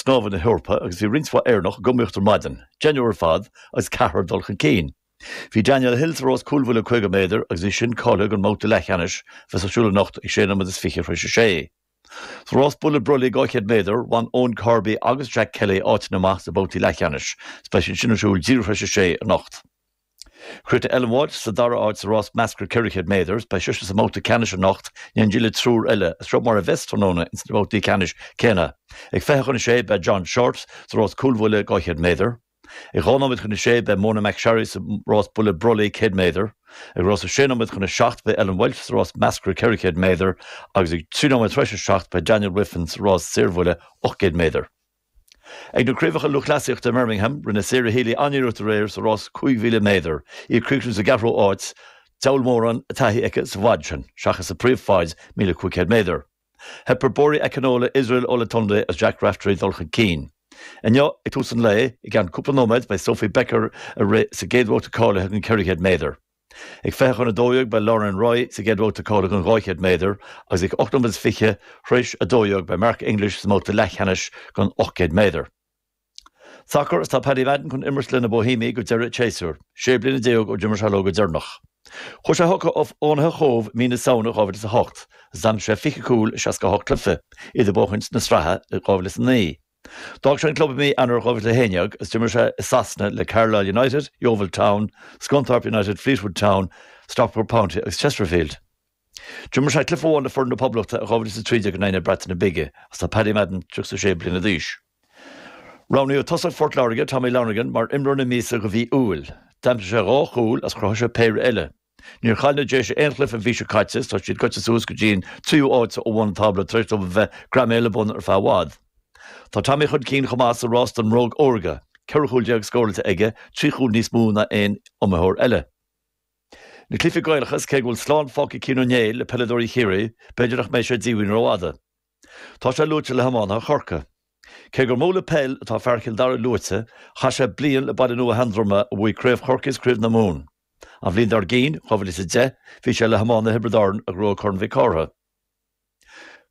Snámha na hEorpa agus bhí roinnt mhaith Éireannach ag iomaíocht ar maidin, deichniúr ar fad agus ceathrar ag dul chun cinn. Bhí Daniel Hill sa rás cúlbhuille 50 méadar agus í sin cáilithe don mbabhta leathcheannais a bheas ar siúl anocht ag 6 nóiméad is 20 tar éis a sé. Sa rás buille brollaigh 200 méadar, bhain Eoin Corby agus Jack Kelly áiteanna amach sna babhtaí leathcheannais. Beidh siad sin ar siúl díreach tar éis a sé anocht. Chríochnaigh Ellen Walshe sa dara háit sa rás measctha 400 méadar. Beidh sise sa mbabhta ceannais anocht in éindí le triúr eile. Is seo mar a bheas tráthnóna ins na babhtaí ceannais céanna. Ag 20 chun a sé beidh John Shortt sa rás cúlbhuille 200 méadar. Ag 2 nóiméad chun a sé beidh Mona McSharry sa rás buille brollaigh 100 méadar. Ag rás 6 nóiméad chun a 7 beidh Ellen Walshe sa rás measctha 400 méadar agus ag 3 nóiméad tar éis a 7 beidh Daniel Wiffen sa rás saorbhuille 800 méadar. Ag na Craobhacha Lúthchleasaíochta i mBirmingham, rinne Sarah Healy an-iarracht aréir sa rás 5,000 méadar, í ag críochnú sa gceathrú háit, diabhal mórán taithí aici sa bhfad sin, seachas sa phríomhfhaid, 1,500 méadar. Theip ar Bori Akinola, Israel Olatunde agus Jack Raftery dul chun cinn. Inniu, ag tús an lae, i gceann cúpla nóiméad, beidh Sophie Becker ag rith sa gcéad bhabhta cáilithe don 400 méadar. Ag 20 chun 12 beidh Lauren Roy sa gcéad bhabhta cáilithe don 200 méadar agus ag 8 nóiméad is 20 tar éis 12 beidh Mark English sa mbabhta leathcheannais don 800 méadar. Sacar Is tá Paddy Madden chun imirt le na Bohemiaigh go deireadh an tséasúir, 16 bliana ó d'imir sé leo go deireanach. Chuaigh sé chucu ó Fhánaithe Chóbh i mí na Samhna 2008 agus d'aimsigh sé 20 cúl i 68 cluiche, iad ag buachaint na sraithe i 2009. D'fhág sé an club i mí Eanáir 2011 agus d'imir sé i Sasana le Carlisle United, Yeovil Town, Scunthorpe United, Fleetwood Town, Stockport County agus Chesterfield. D'imir sé cluiche amháin le foireann na Poblachta i 2013 in aghaidh na Breataine Bige agus tá Paddy Madden 36 bliana d'aois. Roghnaíodh tosach Phort Láirge, Tommy Lonergan, mar imreoir na míosa do mhí Iúil. D'aimsigh sé dhá chúl agus chruthaigh sé péire eile. Níor chaill na Déise aon chluiche an mhí seo caite is tá siad gaibhte suas go dtí an tríú áit ó bhun an tábla tar éis dóibh a bheith greamaithe le bun ar feadh i bhfad. Tá Tommy chun cinn chomh maith sa rás don mBróg Órga, 14 chúl scóráilte aige, trí chúl níos mó ná aon iomaitheoir eile. Na cluichí Gaelacha is cé go bhfuil slán fágtha ag Cian Ó Néill le peileadóirí Chiarraí, b'fhéidir nach mbeidh sé díomhaoin rófhada. Tá sé luaite le hiománaithe Chorcaí. Cé gur mó le peil atá fear Chill Dara luaite, chaith sé bliain le Baile Nua Sheandroma a bhuaigh Craobh Chorcaí is Craobh na Mumhan. An bhliain dár gcinn, 2010, bhí sé le hiománaithe Thiobraid Árann a ghnóthaigh Corn Mhic Cárthaigh.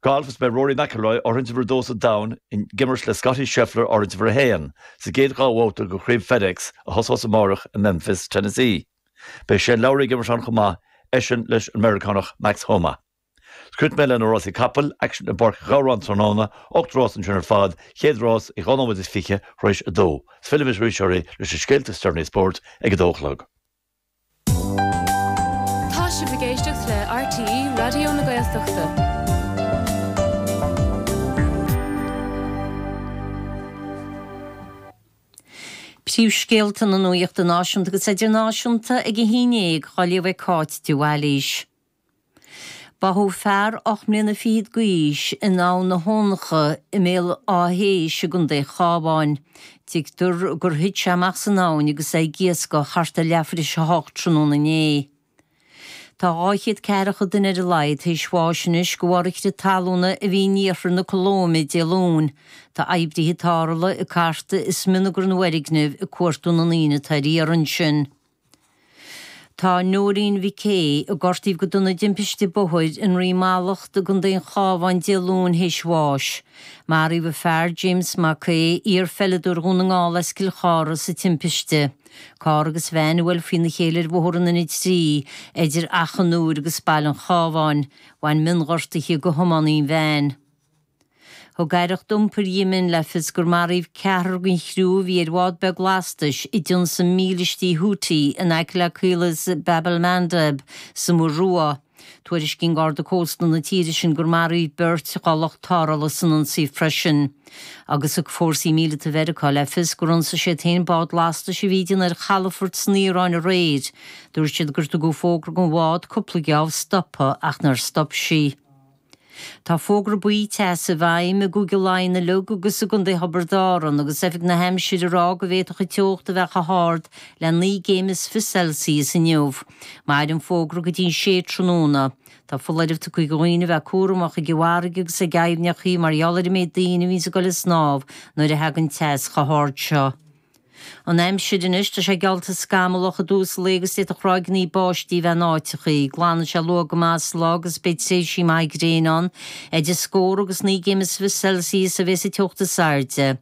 Galf Is beidh Rory McIlroy, áirithint uimhir a dó sa domhan, ag imirt le Scottie Scheffler, áirithint uimhir a haon, sa gcéad dhá bhabhta de Chraobh FedEx a thosós amárach i Memphis, Tennessee. Beidh Shane Lowry ag imirt ann chomh maith, eisean leis an Meiriceánach Max Homa. Críochnóidh mé le na rásaí capall, aicsean i bPáirc Ghabhráin tráthnóna, 8 rás ansin ar fad, chéad rás ag 2 nóiméad is 20 tar éis a dó. Is fillfidh muid arís oraibh leis na scéalta is deireanaí spóirt ag a dó a chlog. Tá sibh ag éisteacht le RTÉ Raidió na Gaeltachta. Príomhscéalta na nuachta náisiúnta agus idirnáisiúnta ag a haon dhéag á léamh ag Cáit de Bhailís. Báthadh fear 8 mbliana fichead d'aois in Abhainn na hAbhantraí i mBéal Átha hÉis i gContae an Chabháin. Tuigtear gur thit sé amach san abhainn agus é ag iascach thart ar leathuair tar éis a hocht tráthnóna inné. Tá 200 ceathracha duine ar a laghad tar éis bháis anois de bharr an chrith talúna a bhí in iarthar na Colóime Dé Luain. Tá oibrithe tarrthála ag cartadh i smionagar na bhfoirgneamh ag cuartú na ndaoine atá ar iarraidh ansin. Tá Nóirín Mhic Aodha, a gortaíodh go dona i dtimpiste bóthair i nDroim Mallacht i gContae an Chabháin Dé Luain théis bháis. Maraíodh a fear, James Mac Aodha, iar-pheileadóir Dhún na nGall as Cill Chartha, sa timpiste. Carr agus veain a bhuail faoina chéile ar Bhóthar an N3 idir Achadh an Iúir agus Baile an Chabháin. Bhain mionghortuithe do thiománaí an veain. Thug Aireacht Iompair Yemen le fios gur maraíodh ceathrar den chriú a bhí ar bhád beag lastais a d'ionsaigh mílístí Houthi in aice le caolas Bab el-Mandeb sa Muir Rua. Tuairiscíonn Garda Cósta na tíre sin gur maraíodh beirt dá lucht tarrthála san ionsaí freisin. Agus thug fórsaí míleata Mheiriceá le fios gur ionsaigh siad féin bád lastais a bhí ag déanamh ar chalafort san Iaráin aréir. Dúirt siad gur tugadh fógra don bhád cúpla geábh stopadh ach nár stop sí. Tá fógra buí teasa i bhfeidhm i gCúige Laighean uilig agus i gContae Thiobraid Árann agus Oifig na hAimsire ag rá go bhféadfadh an teocht a bheith chomh hard le 19 gcéim is Celsius inniu. Mairfidh an fógra go dtí an sé tráthnóna. Tá foláireamh tugtha do dhaoine a bheith cúramach ag an bhfarraige agus ag aibhneacha mar gheall ar an méid daoine a bhíonns ag dul ag snámh nuair a thagann teas chomh hard seo. An aimsir anois, tá sé geallta scamallach i dtús an lae agus d'fhéadfadh ráigeanna báistí a bheith in áiteachaí. Glanfaidh sé luath go maith sa lá agus beidh tréimhsí maithe gréine ann. Idir scór agus 19 gcéim is fiche Celsius a bheas an teocht is airde.